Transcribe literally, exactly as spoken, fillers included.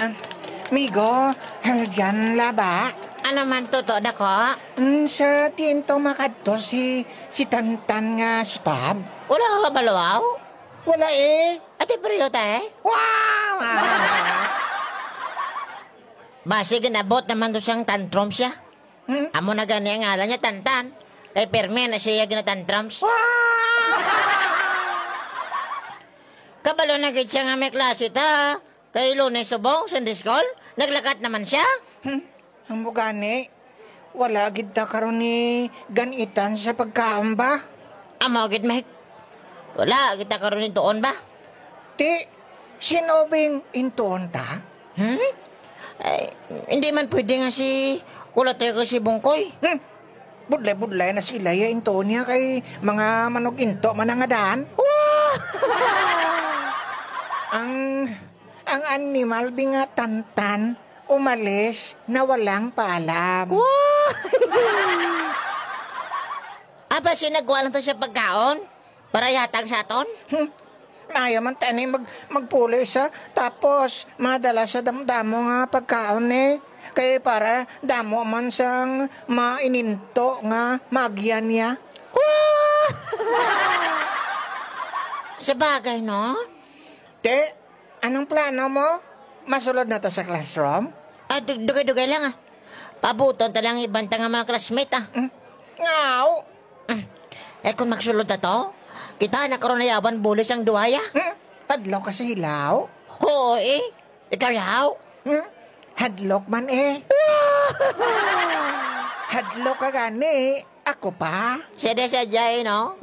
Ah, migo, hangjan la ba? Ano man to, to, dako? Mm, sa diin to makadto si, si Tantan nga sutab? Wala ka kabalo, aw? Wala, eh. Ate, pero, te? Wow! Basi ginabot naman to siyang tantrum siya. Hmm? Amo na gani ang ngalan niya, Tantan. Kay permi na siya ginatantrums. Wow! Kabalo na gid siya nga may klase ta. Kay Lunes subong, Sunday school, naglakat naman siya. Hmm, amo gani. Wala gid ta karon ni gan-itan sa pagkaon ba? Amo gid, Mike. Wala gid ta karon ni tuon ba? Ti, sin-o bing intuon ta? Hmm? Ay, hindi man pwede nga si Kulatoy ko si Bungkoy. Hmm. Budlay-budlay na sila ya intuon niya kay mga manuginto man ang adaan. Wah! Ang, ang animal bi nga Tantan umalis na walang paalam. Wah! Aba, si nagkuha lang to siya pagkaon para ihatag sa aton? Hmm. Maayo man tani mag-, magpuli sa, tapos madala sa damo-damo nga pagkaon, eh. Kay para damo man sang maininto nga maagyan niya. Wah! Sabagay, no? Te, anong plano mo? Masulod na ta sa classroom? Ah, dug-, dugay-dugay lang, ah. Pabuton ta lang iban ta nga mga classmate, ah. Mm. Ngaw. Mm. Eh, kung magsulod na to, kita na karon na yawan bulis ang duha, ya. Mm. Hadlok ka sa hilaw? Oo, eh. Ikaw, yaw? Mm. Hadlok man, eh. Hadlok ka gani. Ako pa? Sede sa Jay, no?